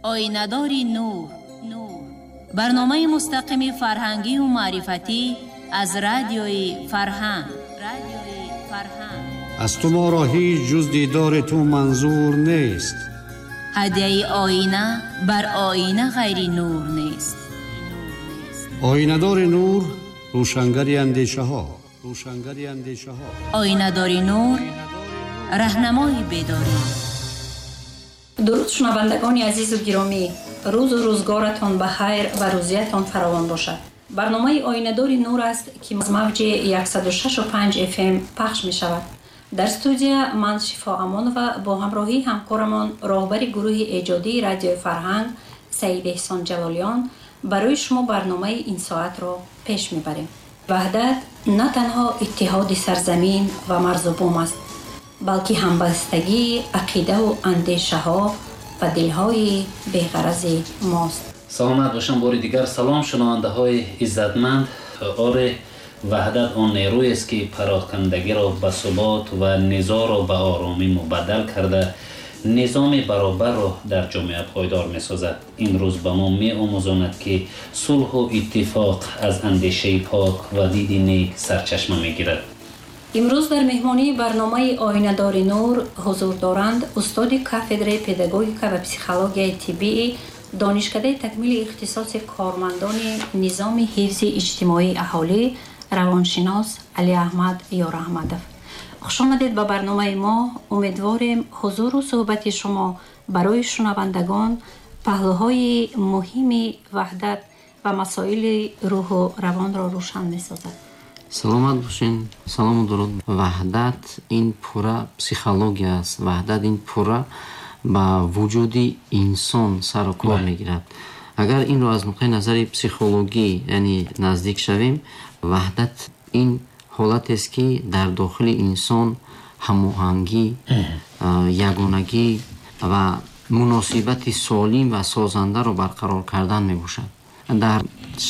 Оинадори нур, барномаи мустақими фарҳангию маърифатӣ аз радиои Фарҳанг. Аз ту моро ҳеҷ ҷуз дидори ту манзур нест. Ҳадияи оина бар оина ғайри нур нест. Оинадори нур, рӯшангари андешаҳо, рӯшангари андешаҳо. Оинадори нур, раҳнамои бедорӣ. Дуруд, шунавандагони азизу гиромӣ, рӯзу рӯзгоратон ба хайр ва рӯзиятон фаровон бошад. Барномаи Оинадори нур аст, ки аз мавҷи 106.5 FM пахш мешавад. Дар студия ман, Шифо Амонова, бо ҳамроҳии ҳамкорамон, роҳбари гурӯҳи эҷодии Радиои Фарҳанг Саид Эҳсон Ҷалолиён, барои шумо барномаи ин соатро пеш мебарем. Ваҳдат на танҳо иттиҳоди сарзамин ва марзу бум аст, балки ҳамбастагии ақидаву андешаҳо ва дилҳои беғарази мост. Саломат бошам. Бори дигар салом, шунавандаҳои иззатманд. Оре, ваҳдат он нерӯест, ки парокандагиро ба субот ва низоъро ба оромӣ мубаддал карда, низоми баробарро дар ҷомеа пойдор месозад. Ин рӯз ба мо меомӯзонад, ки сулҳу иттифоқ аз андешаи пок ва диди нек сарчашма мегирад. Имрӯз дар меҳмонии барномаи Оинадори нур ҳузур доранд устоди кафедраи педагогика ва психологияи тиббии Донишкадаи такмили ихтисоси кормандони низоми ҳифзи иҷтимоии аҳолӣ, равоншинос Алиаҳмад Ёраҳмадов. Хушомадед ба барномаи мо. Умедворем, ҳузуру суҳбати шумо барои шунавандагон паҳлӯҳои муҳими ваҳдат ва масоили рӯҳу равонро рӯшан месозад. Саломат бошен. Салому дуруд. Ваҳдат ин пурра психология аст. Ваҳдат ин пурра ба вуҷуди инсон сару кор мегирад. Агар инро аз нуқтаи назари психологӣ, яъне наздик шавем, ваҳдат ин ҳолатест, ки дар дохили инсон ҳамоҳангӣ, ягонагӣ ва муносибати солим ва созандаро барқарор кардан мебошад. Дар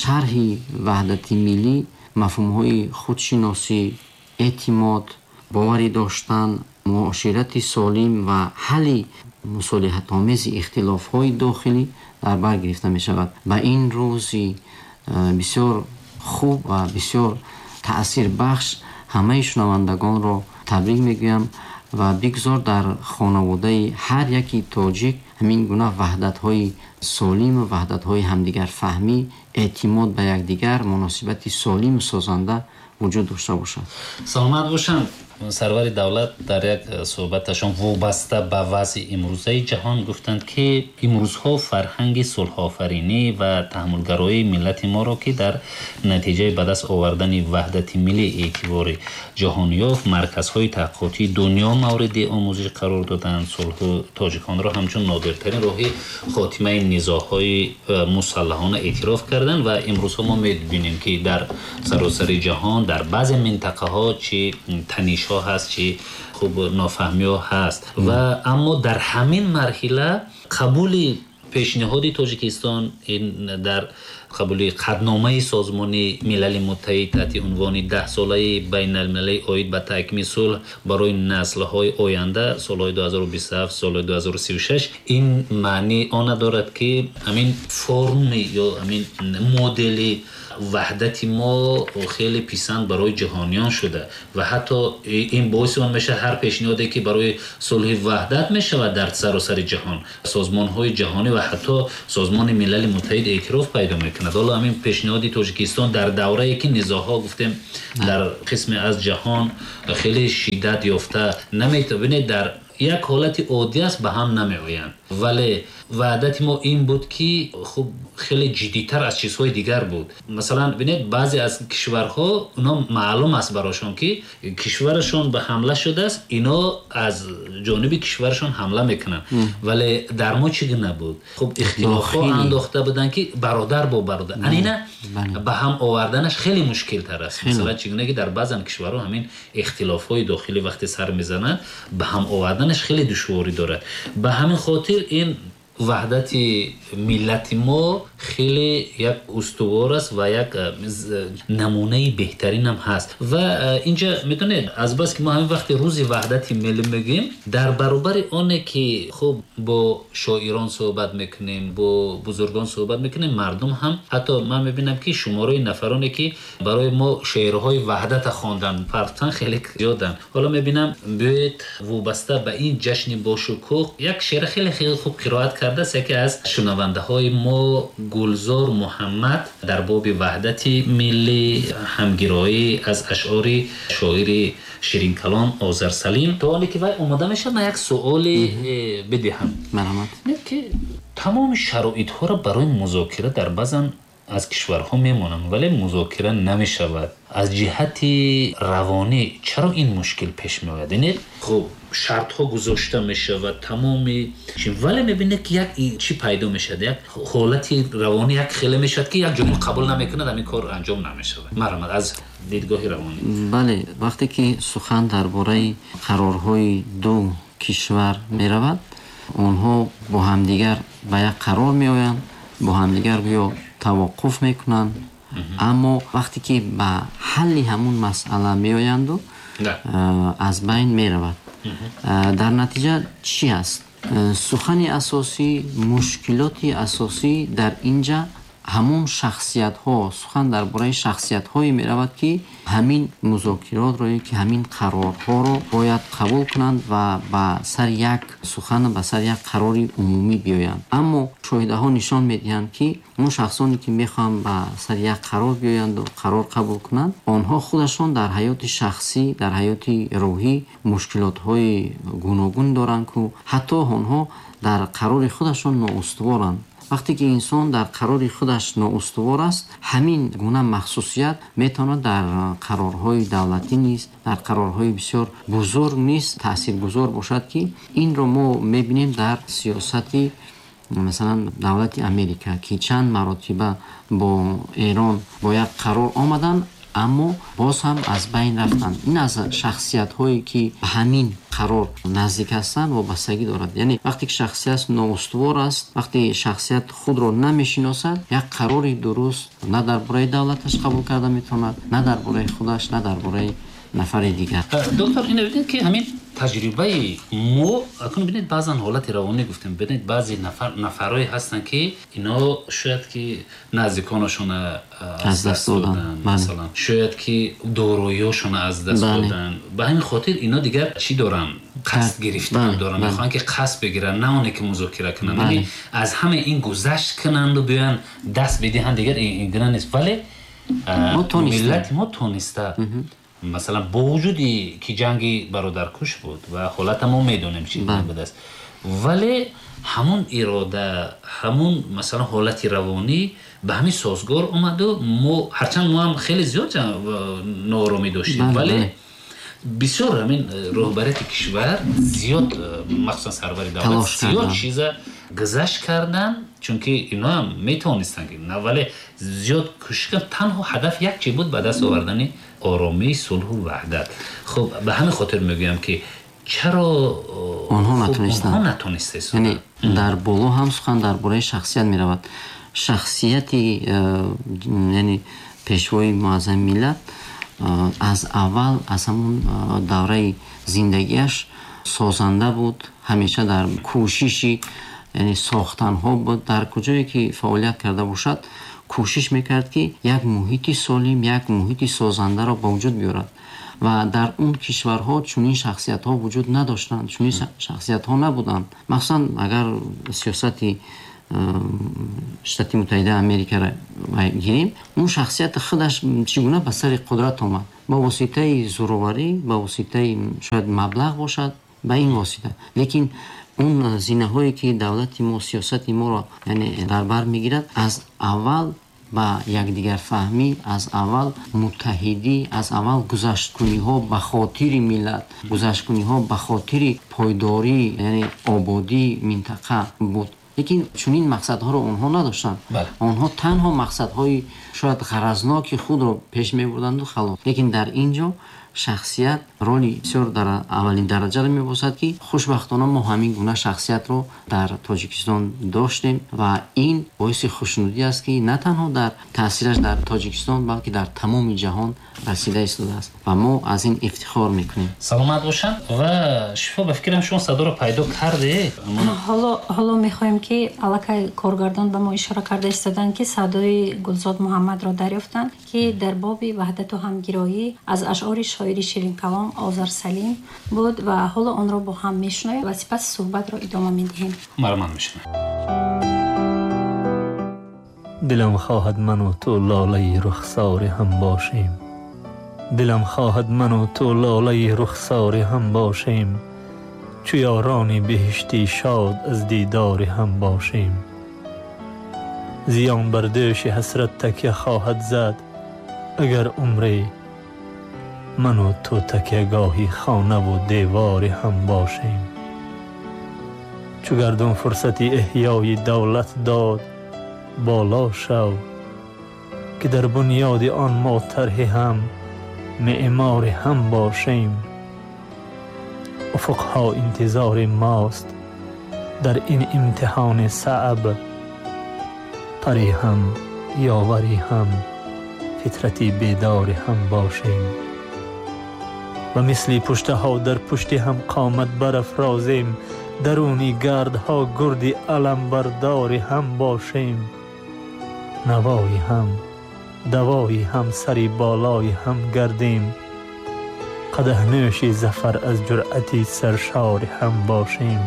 шарҳи ваҳдати миллӣ мафҳумҳои худшиносӣ, эътимод, боварӣ доштан, муоширати солим ва ҳалли мусолиҳатомези ихтилофҳои дохилӣ дар бар гирифта мешавад. Ба ин рӯзи бисёр хуб ва бисёр таъсирбахш ҳамаи шунавандагонро табрик мегӯям ва бигзор дар хонаводаи ҳар яки тоҷик ҳамин гуна ваҳдатҳои солиму ваҳдатҳои ҳамдигарфаҳмӣ, эътимод ба якдигар, муносибати солиму созанда вуҷуд дошта бошад. Саломат бошанд. Сарвари давлат дар як суҳбаташон вобаста ба вазъи имрӯзаи ҷаҳон гуфтанд, ки имрӯзҳо фарҳанги сулҳофаринӣ ва таҳаммулгароии миллати моро, ки дар натиҷаи ба даст овардани ваҳдати миллӣ эътибори ҷаҳон ёфт, марказҳои таҳқиқотии дунё мавриди омӯзиш қарор доданд. Сулҳу тоҷиконро ҳамчун нодиртарин роҳи хотимаи низоъҳои мусаллаҳона эътироф карданд. Ва имрӯзҳо мо мебинем, ки дар саросари ҷаҳон дар баъзе минтақаҳо чӣ танишҳо ҳаст, чӣ хуб нофаҳмиҳо ҳаст. Ва аммо дар ҳамин марҳила қабули пешниҳоди Тоҷикистон ин дар қабули қатъномаи Созмони Милали Муттаҳид таҳти унвони Даҳсолаи байналмилалии оид ба таҳкими сулҳ барои наслҳои оянда, солҳои 2027, солҳои 2036, ин маъни она дорад, ки ҳамин форми ё ҳамин модели ваҳдати мо хеле писанд барои ҷаҳониён шуда ва ҳатто ин боиси он мешавад, ҳар пешниҳоде, ки барои сулҳи ваҳдат мешавад, дар саросари ҷаҳон созмонҳои ҷаҳонӣ ва ҳатто Созмони Милали Муттаҳид эътироф пайдо мекунад. Ҳоло ҳамин пешниҳоди Тоҷикистон дар даврае, ки низоъҳо, гуфтем, дар қисме аз ҷаҳон хеле шиддат ёфта наметавонед, дар як ҳолати оддӣ аст, ба ҳам намеоянд, вале ваҳдати мо ин буд, ки хуб хеле ҷиддитар аз чизҳои дигар буд. Масалан, бинед, баъзе аз кишварҳо, оно маълум аст барошон, ки кишварашон ба ҳамла шудааст, ино аз ҷониби кишварашон ҳамла мекунанд, вале дар мо чӣ гуна буд? Хуб, ихтилофҳо андохта буданд, ки бародар бо бародар, ана ина ба ҳам оварданаш хеле мушкилтар аст. Масалан, чӣ гуна ки дар баъзан кишварҳо ҳамин ихтилофҳои дохилӣ вақте сар мезананд, ба ҳам оварданаш хеле душворӣ дорад. Ба ҳамин хотир ин Ваҳдати миллати мо хеле як устувор аст ва як намунаи беҳтаринам ҳаст. Ва инҷа медонед, азбас ки мо ҳамин вақти рӯзи ваҳдати миллӣ мегӯем, дар баробари оне ки хуб бо шоирон суҳбат мекунем, бо бузургон суҳбат мекунем, мардум ҳам ҳатто ман мебинам ки шумораи нафароне ки барои мо шеърҳои ваҳдата хондан партан хеле зиёданд. Ҳоло мебинам биёед вобаста ба ин ҷашни бошукӯҳ як шеър хеле хеле хуб қироат кардааст яке аз шунавандаҳои мо Гулзор Муҳаммад дар боби ваҳдати миллӣ, ҳамгироӣ аз ашъори шоири ширинкалом Озар Салим. То оне ки вай омода мешавад, ман як суоле бидиҳам. Марҳамат. Ки тамоми шароитҳоро барои музокира дар баъзан аз кишварҳо мемонанд, вале музокира намешавад. Аз ҷиҳати равонӣ чаро ин мушкил пеш меояд? Яъне хуб шартҳо гузошта мешавад тамоми, вале мебинед ки як чӣ пайдо мешавад, як ҳолати равонӣ як хеле мешавад ки як ҷониб қабул намекунад, ҳамин кор анҷом намешавад. Марҳамат, аз дидгоҳи равонӣ. Бале, вақте ки сухан дар бораи қарорҳои ду кишвар меравад, онҳо бо ҳамдигар ба як қарор меоянд, бо ҳамдигар гӯё таваққуф мекунанд, аммо вақте ки ба ҳалли ҳамун масъала меоянду аз байн меравад. Дар натиҷа чӣ аст? Сухани асосӣ, мушкилоти асосӣ дар инҷа ҳамон шахсиятҳо, сухан дар бораи шахсиятҳое меравад ки ҳамин музокиротро ё ки ҳамин қарорҳоро бояд қабул кунанд ва ба сари як сухан, ба сари як қарори умумӣ биёянд. Аммо мушоҳидаҳо нишон медиҳанд ки он шахсоне ки мехоҳанд ба сари як қарор биёянду қарор қабул кунанд, онҳо худашон дар ҳаёти шахсӣ, дар ҳаёти рӯҳӣ мушкилотҳои гуногун доранд, ку ҳатто онҳо дар қарори худашон ноустуворанд. Вақте ки инсон дар қарори худаш ноустувор аст, ҳамин гуна махсусият метавонад дар қарорҳои давлатӣ низ, дар қарорҳои бисёр бузург низ таъсиргузор бошад, ки инро мо мебинем дар сиёсати масалан давлати Америка, ки чанд маротиба бо Эрон бо як қарор омаданд, аммо боз ҳам аз байн рафтанд. Ин аз шахсиятҳое ки ба ҳамин қарор наздик ҳастанд вобастагӣ дорад. Яъне вақте ки шахсият ноустувор аст, вақте шахсият худро намешиносад, як қарори дуруст на дар бораи давлаташ қабул карда метавонад, на дар бораи худаш, на дар бораи нафари дигар. Доктор, ино бибинед ки ҳамин таҷрибаи мо, акнун бибинед баъзан ҳолати равонӣ гуфтем, бибинед баъзе нафарое ҳастанд ки ино шояд ки наздиконашона аз даст доданд, масалан шояд ки дороиҳошона аз даст доданд. Ба ҳамин хотир ино дигар чӣ доранд? Қасд гирифтан доранд, мехоҳанд ки қасд бигиранд, на оне ки музокира кунанд, яъне аз ҳама ин гузашт кунанду биёянд даст бидиҳанд, дигар ин гуна нест. Вале миллати мо тониста, масалан бо вуҷуди ки ҷанги бародаркуш буд ва ҳолата мо медонем чӣ будааст, вале ҳамон ирода, ҳамон масалан ҳолати равонӣ ба ҳамин созгор омаду мо ҳарчанд мо ҳам хеле зиёд нооромӣ доштем, вале бисёр ҳамин роҳбарияти кишвар зиёд, махсусан сарвари давлат зиёд чиза гузашт кардан, чунки ино ҳам метавонистанд, вале зиёд кӯшиш кардан. Танҳо ҳадаф як чи буд: ба даст овардани оромӣ, сулҳу ваҳдат. Хуб, ба ҳамин хотир мегӯям ки чаро онҳо натонистанд. Яъне дар боло ҳам сухан дар бораи шахсият меравад. Шахсияти яъне пешвои муаззами миллат аз аввал, аз ҳамон давраи зиндагиаш созанда буд, ҳамеша дар кӯшиши яъне сохтанҳо буд. Дар куҷое ки фаъолият карда бошад, кӯшиш мекард ки як муҳити солим, як муҳити созандаро ба вуҷуд биёрад. Ва дар он кишварҳо чунин шахсиятҳо вуҷуд надоштанд, чунин шахсиятҳо набуданд. Махсусан агар сиёсати Штати Муттаҳидаи Америкаро гирем, он шахсияти худаш чӣ гуна ба сари қудрат омад? Ба воситаи зӯроварӣ, ба воситаи шояд маблағ бошад, ба ин восита. Лекин он зинаҳое ки давлати мо, сиёсати моро яъне дар бар мегирад, аз аввал ба якдигарфаҳмӣ, аз аввал муттаҳидӣ, аз аввал гузашткуниҳо ба хотири миллат, гузашткуниҳо ба хотири пойдорӣ, яъне ободии минтақа буд. Лекин чунин мақсадҳоро онҳо надоштанд. Онҳо танҳо мақсадҳои шояд ғаразноки худро пеш мебурданду халос. Лекин дар ин ҷо Шахсият роли бисёр дар аввалин дараҷаро мебошад, ки хушбахтона мо ҳамин гуна шахсиятро дар Тоҷикистон доштем ва ин боиси хушнудӣ аст, ки на танҳо дар таъсираш дар Тоҷикистон, балки дар тамоми ҷаҳон расида истодааст ва мо аз ин ифтихор мекунем. Саломат бошанд. Ва Шифо, ба фикрам шумо садоро пайдо карде. Ҳоло мехоҳем, ки аллакай коргардон ба мо ишора карда истоданд, ки садои Гулзод Муҳаммадро дарёфтанд, ки дар боби ваҳдату ҳамгироӣ аз ашъори шоири ширинкалом Озар Салим буд ва ҳоло онро бо ҳам мешунавем ва сипас суҳбатро идома медиҳем. Марман мешунавем. Дилам хоҳад ману ту лолаи рухсори ҳам бошем. Дилам хоҳад ману ту лолаи рухсори ҳам бошем. Чу ёрони беҳиштӣ шод аз дидори ҳам бошем. Зиён бар дӯши ҳасрат такя хоҳад зад, агар умре ману ту такягоҳи хонаву девори ҳам бошем. Чу гардун фурсати эҳёи давлат дод, боло шав, ки дар бунёди он мо тарҳи ҳам меъмори ҳам бошем. Уфуқҳо интизори мост дар ин имтиҳони саъб, пари ҳам ёвари ҳам фитрати бедори ҳам бошем. Ва мисли пуштаҳо дар пушти ҳам қомат барафрозем, даруни гардҳо гурди аламбардори ҳам бошем. Навои ҳам давои ҳам сари болои ҳам гардем, қадаҳнӯши зафар аз ҷуръати саршори ҳам бошем.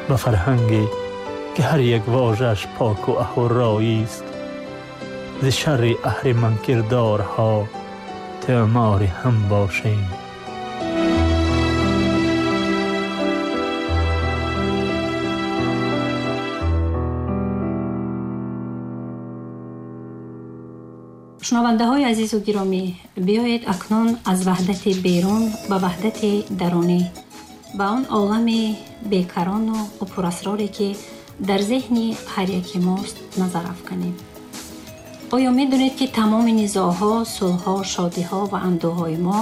Ба фарҳанге ки ҳар як вожааш поку аҳурроист, зи шарри аҳриманкирдорҳо теъмори ҳам бошем. Шунавандаҳои азизу гиромӣ, биёед акнун аз ваҳдати берун ба ваҳдати дарунӣ, ба он олами бекарону пурасроре, ки дар зеҳни ҳар яки мост, назар афканем. Оё медонед, ки тамоми низоъҳо, сулҳҳо, шодиҳо ва андӯҳҳои мо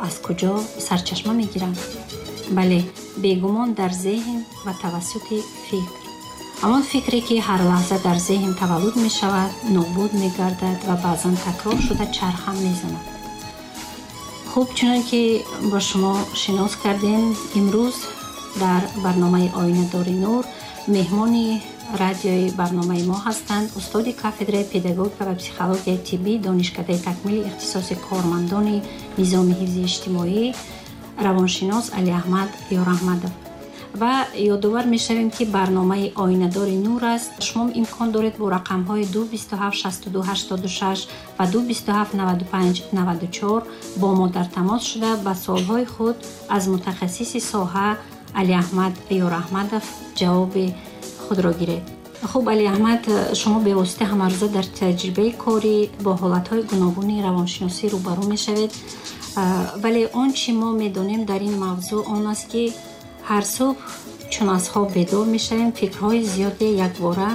аз куҷо сарчашма мегиранд? Бале, бегумон дар зеҳн ва тавассути фикр. Ҳамон фикре, ки ҳар лаҳза дар зеҳн таваллуд мешавад, нобуд мегардад ва баъзан такрор шуда чархам мезанад. Хуб, чунон ки бо шумо шинос кардем, имрӯз дар барномаи Оинадори нур меҳмони радиои барномаи мо ҳастанд устоди кафедраи педагогика ва психологияи тиббӣ Донишкадаи такмили ихтисоси кормандони низоми ҳифзи иҷтимоӣ, равоншинос Алиаҳмад Ёраҳмадов. Ва ёдовар мешавем, ки барномаи Оинадори нур аст. Шумо имкон доред бо рақамҳои 227 62 86 ва 227 95 94 бо мо дар тамос шуда ба суолҳои худ аз мутахассиси соҳа Алиаҳмад Ёраҳмадов ҷавоби худро гиред. Хуб, Алиаҳмад, шумо бевосита ҳамарӯза дар таҷрибаи корӣ бо ҳолатҳои гуногуни равоншиносӣ рӯбарӯ мешавед, вале он чӣ мо медонем дар ин мавзӯъ он аст, ки ҳар субҳ чун аз хоб бедор мешавем, фикрҳои зиёде якбора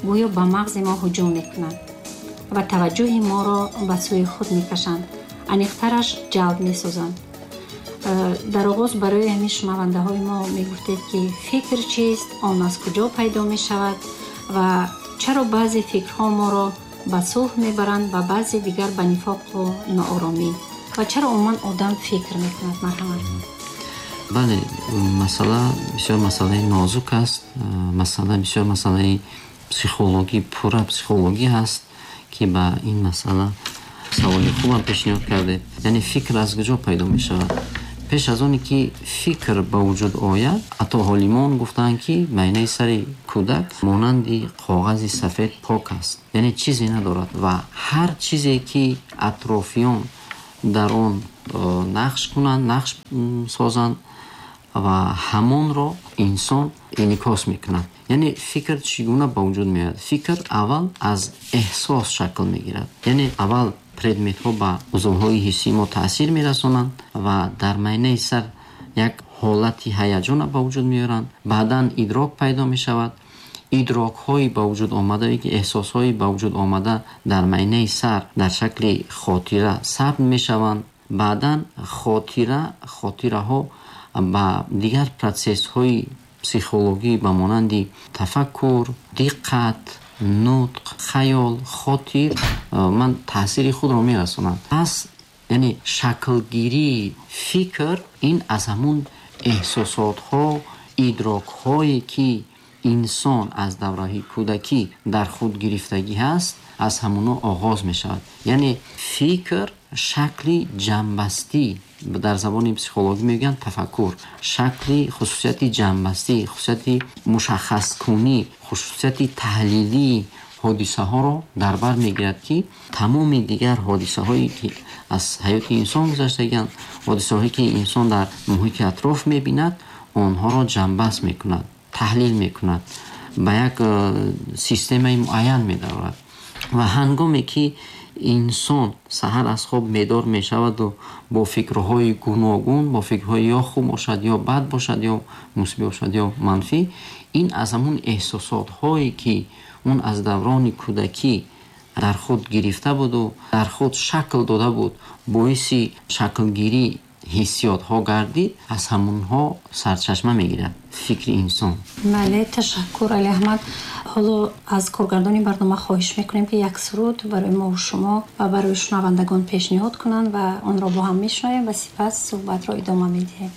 гӯё ба мағзи мо ҳуҷум мекунанд ва таваҷҷӯҳи моро ба сӯи худ мекашанд, аниқтараш ҷалб месозанд. Дар оғоз барои ҳамин шунавандаҳои мо мегуфтед, ки фикр чист, он аз куҷо пайдо мешавад ва чаро баъзе фикрҳо моро ба сулҳ мебаранд ва баъзе дигар ба нифоқу нооромӣ, ва чаро умуман одам фикр мекунад? Марҳамат. Бале, масъала бисёр масъалаи нозук аст, масъала бисёр масъалаи психологӣ, пурра психологӣ ҳаст, ки ба ин масъала саволи хубам пешниҳод кардед. Яъне фикр аз куҷо пайдо мешавад? Пеш аз оне ки фикр ба вуҷуд ояд, ҳолимон гуфтаанд, ки майнаи сари кӯдак монанди коғази сафед пок аст, яъне чизе надорад ва ҳар чизе ки атрофиён дар он нақш кунанд, нақш созанд ва ҳамонро инсон инъикос мекунад. Яъне фикр чӣ гуна ба вуҷуд меояд? Фикр аввал аз эҳсос шакл мегирад. Яъне аввал предметҳо ба узвҳои ҳиссии мо таъсир мерасонанд ва дар майнаи сар як ҳолати ҳаяҷонро ба вуҷуд меоранд. Баъдан идрок пайдо мешавад. Идрокҳои ба вуҷуд омада, ки эҳсосҳои ба вуҷуд омада дар майнаи сар дар шакли хотира сабт мешаванд. Баъдан хотираҳо ба дигар процессҳои психологӣ ба монанди тафаккур, диққат, нутқ, хаёл, хотир ман таъсири худро мерасонанд. Пас яъне шаклгирии фикр ин аз ҳамун эҳсосотҳо, идрокҳое ки инсон аз давраи кӯдакӣ дар худ гирифтагӣ ҳаст, аз ҳамуно оғоз мешавад. Яъне фикр шакли ҷамъбастӣ, дар забони психологӣ мегӯянд тафаккур, шакли хусусияти ҷамъбастӣ, хусусияти мушаххаскунӣ, хусусияти таҳлилии ҳодисаҳоро дар бар мегирад, ки тамоми дигар ҳодисаҳое ки аз ҳаёти инсон гузаштагианд, ҳодисаҳое ки инсон дар муҳити атроф мебинад, онҳоро ҷамъбаст мекунад, таҳлил мекунад, ба як системаи муайян медарорад. Ва ҳангоме ки инсон саҳар аз хоб медор мешаваду бо фикрҳои гуногун, бо фикрҳои ё хуб бошад, ё бад бошад, ё мусбӣ бошад, ё манфӣ, ин аз ҳамун эҳсосотҳое ки он аз даврони кӯдакӣ дар худ гирифта буду дар худ шакл дода буд, боиси шаклгирии ҳиссиётҳо гардид, аз ҳамунҳо сарчашма мегирад фикри инсон. Бале, ташаккур, Али Аҳмад. Ҳоло аз коргардони барнома хоҳиш мекунем, ки як суруд барои мо шумо ва барои шунавандагон пешниҳод кунанд ва онро бо ҳам мешунавем ва сипас суҳбатро идома медиҳем.